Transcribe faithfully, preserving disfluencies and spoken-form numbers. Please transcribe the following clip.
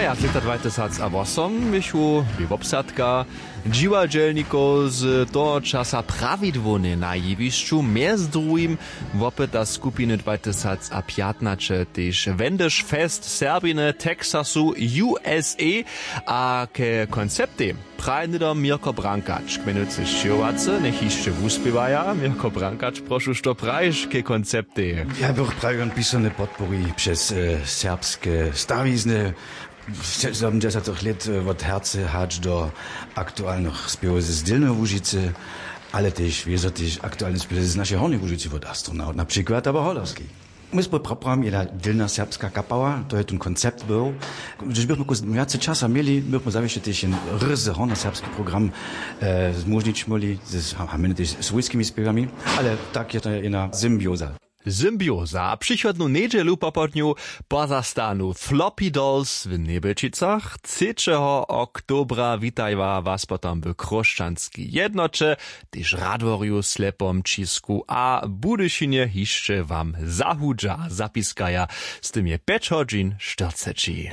A lěta dwatysacawosomjechu bě wobsadka dźiwadźelnikow z toho časa prawidłownje na jewišću, mjez druhim wopyta skupiny dwatysacapjatnaće tež wendyš fest serbiny texasu usa. A ke konceptej praje hnydom mirko brankač k mjenujcy sćěhowacy njech hišće wuspěwaja. Mirko brankač, prošu, što prajiš ke konceptej? Ja bych prajił, on pisane podpori přez serbske stawizny. Sedemdźesatych lět wot herce hač do aktualnych spěwow z dylneho łužicy, ale tež wězo tež aktualne spěwow z našej hornjej łužicy wot astronaut na přikład abo holowski. My spój praprajem jedna dylna serbska kapała, to je ten koncept był. Hdyž bychmy kus wjace časa měli, bychmy zawěsće tež jen ryzy hornoserbski program zmóžnić móhli z hamenytež swójskimi spěwami. Ale tak je to jedna symbioza. Symbioza a přichodnu njedźelu popołdnju pozastanu floppy dolls w njebelčicach. Třećeho oktobra witajła was potom w chróšćanskej jednoće, tež radworju slepom ćisku a budyšinje hišće wam zahudźa zapiskaja. Z tym je pjeć hodźin štyrceći.